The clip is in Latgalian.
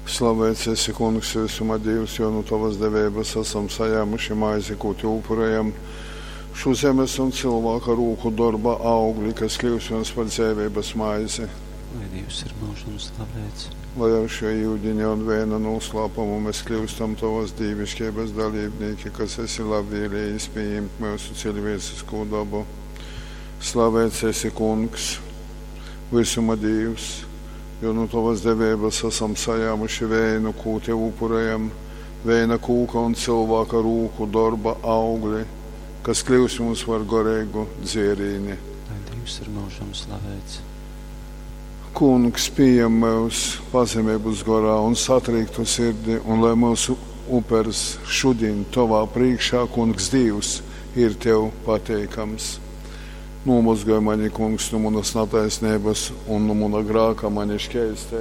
Slavēts esi, Kungs, visuma Dīvs, jo nu Tovas deveibas asam sajēmuši maizi, kū Tev upurējam, šo zemes un cilvēka rūku dorba augli, kas kļūst mums par dzeiveibas maizi. Lai Dīvs ir mūžam slavēts. Lai ar šo yudiņa un vēna noslēpumu mēs kļūstam Tavas dīvišķības dalībnieki, kas esi labvēlījis pieņemt mūsu cilvēcisko dabu. Slavēts esi, Kungs, visuma Dīvs, jo nu Tavas deveibas esam sajēmuši vēnu, kū Tev upurējam, vēna kūka un cilvēka rūku darba augli, kas kļūs mums par gorēgu dzierīni. Lai Dīvs ir mūžam slavēts. Kungs, pieņem mūs pazemības gorā un satriektu sirdi, un lai mūsu upers šodien Tavā priekšā, Kungs Dievs, ir Tev pateikams. Nomazgāj mani, Kungs, no manas netaisnības un no mana grāka mani šķēstē.